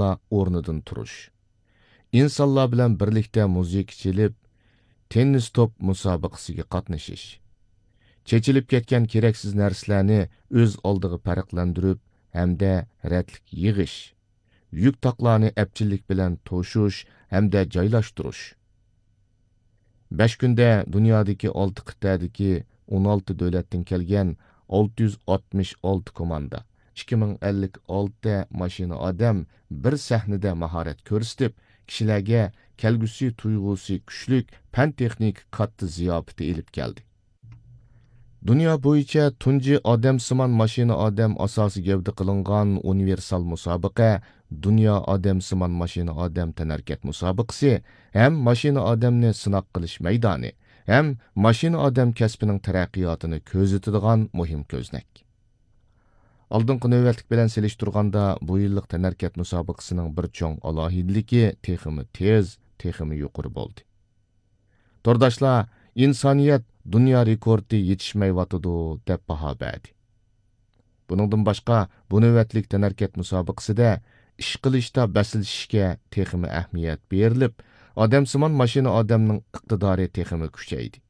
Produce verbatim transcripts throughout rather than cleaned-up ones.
ئورنىدىن تۇرۇش، ئىنسانلار بىلەن بىرلىكتە مۇزىكا چېلىپ، تېننىس توپ مۇسابىقىسىگە قاتنىشىش، چېچىلىپ كەتكەن كېرەكسىز نەرسىلەرنى ئۆز ئالدىغا پەرقلەندۈرۈپ ھەمدە رەتلىك يىغىش، يۈك تاقلارنى ئەپچىللىك بىلەن توشۇش ھەمدە جايلاشتۇرۇش. بەش كۈندە دۇنيادىكى ئالتە قىتئەدىكى ئون ئالتە دۆلەتتىن كەلگەن ئالتە يۈز ئاتمىش ئالتە كوماندا، ئىككى مىڭ ئەللىك ئالتە ماشىنا ئادەم، بىر سەھنىدە ماھارەت كۆرسىتىپ، كىشىلەرگە كەلگۈسى تۇيغۇسى كۈچلۈك پەن-تېخنىكا كاتتا زىياپىتى ئېلىپ كەلدى. دۇنيا بويىچە تۇنجى ئادەمسىمان ماشىنا ئادەم ئاساسىي گەۋدە قىلىنغان ئۇنىۋېرسال مۇسابىقە دۇنيا ئادەمسىمان ماشىنا ئادەم تەنھەرىكەت مۇسابىقىسى ھەم ماشىنا ئادەمنى سىناق قىلىش مەيدانى ھەم ماشىنا ئادەم كەسپىنىڭ تەرەققىياتىنى كۆزىتىدىغان مۇھىم كۆزنەك. ئالدىنقى نۆۋەتلىك بىلەن سېلىشتۇرغاندا، بۇ يىللىق تەنھەرىكەت مۇسابىقىسىنىڭ بىر چوڭ ئالاھىدىلىكى تېخىمۇ تېز، تېخىمۇ يۇقىرى بولدى. تورداشلار ئىنسانىيەت دۇنيا رېكورتى يېتىشمەيۋاتىدۇ، دەپ باھا بەردى. بۇنىڭدىن باشقا، بۇ نۆۋەتلىك تەنھەرىكەت مۇسابىقىسىدە ئىش قىلىشتا بەسلىشىشكە تېخىمۇ ئەھمىيەت بېرىلىپ، ئادەمسىمان ماشىنا ئادەمنىڭ ئىقتىدارى تېخىمۇ كۈچەيدى.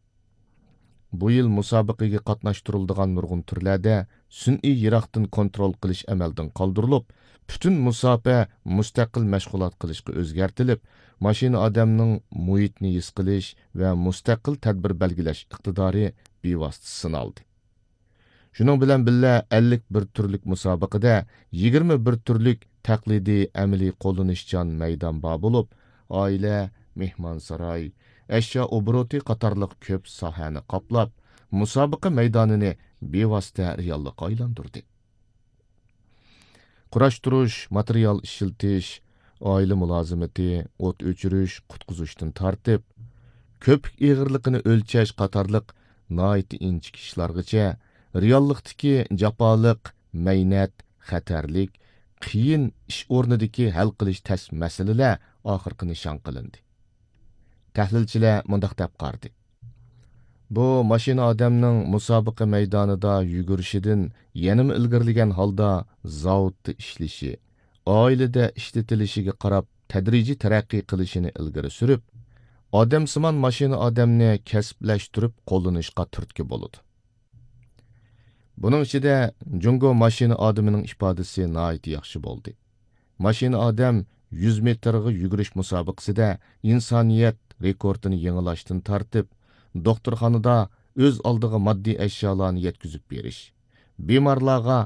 بۇ يىل مۇسابىقىگە قاتناشتۇرۇلىدىغان نۇرغۇن تۈرلەردە سۈنئىي يىراقتىن كونترول قىلىش ئەمەلدىن قالدۇرۇلۇپ، پۈتۈن مۇساپە مۇستەقىل مەشغۇلات قىلىشقا ئۆزگەرتىلىپ، ماشىنا ئادەمنىڭ مۇھىتنى ھېس قىلىش ۋە مۇستەقىل تەدبىر بەلگىلەش ئىقتىدارى بىۋاسىتە سىنالدى. شۇنىڭ بىلەن بىللە، ئەللىك بىر تۈرلۈك مۇسابىقىدە يىگىرمە بىر تۈرلۈك تەقلىدىي ئەمەلىي قوللىنىشچان مەيدان بار بولۇپ، ئائىلە، مېھمانساراي، ئەشيا ئوبوروتى قاتارلىق كۆپ ساھەنى قاپلاپ، مۇسابىقە مەيدانىنى بىۋاسىتە رېئاللىققا ئايلاندۇردى. قۇراشتۇرۇش، ماتېرىيال ئىشلىتىش، ئائىلە مۇلازىمىتى، ئوت ئۆچۈرۈش، قۇتقۇزۇشتىن تارتىپ، كۆپۈك ئېغىرلىقىنى ئۆلچەش قاتارلىق ناھايىتى ئىنچىكە ئىشلارغىچە رېئاللىقتىكى جاپالىق، مەينەت، خەتەرلىك، قىيىن ئىش ئورنىدىكى ھەل قىلىش تەس مەسىلىلەر ئاخىرقى نىشان قىلىندى. تەھلىلچىلەر مۇنداق دەپ قارىدى: بۇ ماشىنا ئادەمنىڭ مۇسابىقە مەيدانىدا يۈگۈرۈشىدىن يەنىمۇ ئىلگىرىلىگەن ھالدا زاۋۇتتا ئىشلىشى، ئائىلىدە ئىشلىتىلىشىگە قاراپ تەدرىجىي تەرەققىي قىلىشىنى ئىلگىرى سۈرۈپ، ئادەمسىمان ماشىنا ئادەمنى كەسىپلەشتۈرۈپ قوللىنىشقا تۈرتكە بولىدۇ. بۇنىڭ ئىچىدە جۇڭگو ماشىنا ئادىمىنىڭ ئىپادىسى ناھايىتى ياخشى بولدى. ماشىنا ئادەم يۈز مېتىرغا يۈگۈرۈش مۇسابىقىسىدە ئىنسانىيەت رېكورتىنى يېڭىلاشتىن تارتىپ، دوختۇرخانىدا ئۆز ئالدىغا ماددىي ئەشيالارنى يەتكۈزۈپ بېرىش، بىمارلارغا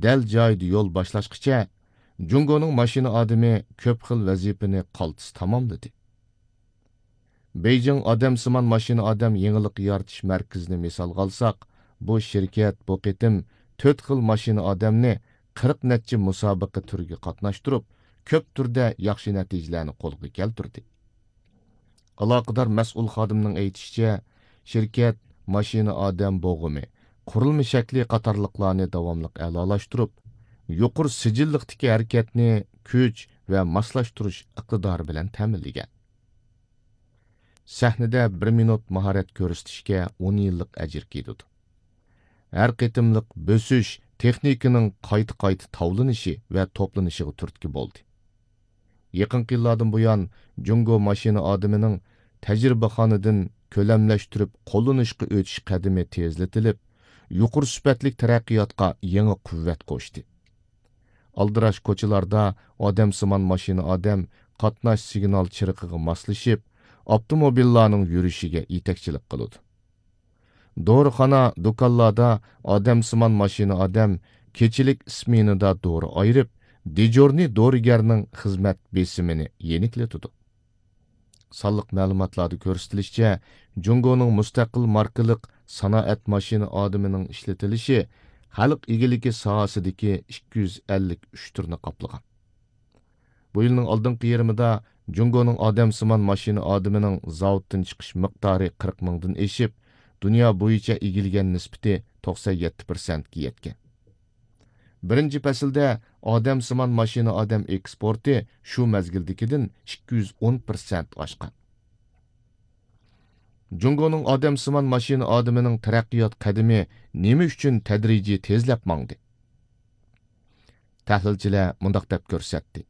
دەل جايىدا يول باشلاشقىچە، جۇڭگونىڭ ماشىنا ئادىمى كۆپ خىل ۋەزىپىنى قالتىس تاماملىدى. بېيجىڭ ئادەمسىمان ماشىنا ئادەم يېڭىلىق يارىتىش مەركىزىنى مىسالغا ئالساق، بۇ شىركەت بۇ قېتىم تۆت خىل ماشىنا ئادەمنى قىرىق نەچچە مۇسابىقە تۈرىگە قاتناشتۇرۇپ، كۆپ تۈردە ياخشى نەتىجىلەرنى قولغا كەلتۈردى. ئالاقىدار مەسئۇل خادىمنىڭ ئېيتىشىچە، شىركەت ماشىنا ئادەم بوغۇمى، قۇرۇلما شەكلى قاتارلىقلارنى داۋاملىق ئەلالاشتۇرۇپ، يۇقىرى سىجىللىقتىكى ھەرىكەتنى كۈچ ۋە ماسلاشتۇرۇش ئىقتىدارى بىلەن تەمىنلىگەن. سەھنىدە بىر مىنۇت ماھارەت كۆرسىتىشكە ئون يىللىق ئەجىر كېتىدۇ. ھەر قېتىملىق بۆسۈش تېخنىكىنىڭ قايتا-قايتا تاۋلىنىشى ۋە توپلىنىشىغا تۈرتكە بولدى. يېقىنقى يىللاردىن بۇيان، جۇڭگو ماشىنا ئادىمىنىڭ تەجرىبىخانىدىن كۆلەملەشتۈرۈپ قوللىنىشقا ئۆتۈش قەدىمى تېزلىتىلىپ، يۇقىرى سۈپەتلىك تەرەققىياتقا يېڭى قۇۋۋەت قوشتى. ئالدىراش كوچىلاردا ئادەمسىمان ماشىنا ئادەم قاتناش سىگنال چىرىقىغا ماسلىشىپ، ئاپتوموبىللارنىڭ يۈرۈشىگە يېتەكچىلىك قىلىدۇ. دورىخانا، دۇكانلاردا ئادەمسىمان ماشىنا ئادەم كېچىلىك ئىسمېنىدا دورا ئايرىپ، دېجورنىي دورىگەرنىڭ خىزمەت بېسىمىنى يېنىكلىتىدۇ. سانلىق مەلۇماتلاردا كۆرسىتىلىشىچە، جۇڭگونىڭ مۇستەقىل ماركىلىق سانائەت ماشىنا ئادىمىنىڭ ئىشلىتىلىشى خەلق ئىگىلىكى ساھەسىدىكى ئىككى يۈز ئەللىك ئۈچ تۈرنى قاپلىغان. بۇ يىلنىڭ ئالدىنقى يېرىمىدا جۇڭگونىڭ ئادەمسىمان ماشىنا ئادىمىنىڭ زاۋۇتتىن چىقىش مىقدارى قىرىق مىڭدىن ئېشىپ، دۇنيا بويىچە ئىگىلىگەن نىسبىتى توقسەن يەتتە پىرسەنتكە يەتكەن. بىرىنچى پەسىلدە ئادەمسىمان ماشىنا ئادەم ئېكسپورتى شۇ مەزگىلدىكىدىن ئىككى يۈز ئون پىرسەنت ئاشقان. جۇڭگونىڭ ئادەمسىمان ماشىنا ئادىمىنىڭ تەرەققىيات قەدىمى نېمە ئۈچۈن تەدرىجىي تېزلەپ ماڭدى؟ تەھلىلچىلەر مۇنداق دەپ كۆرسەتتى: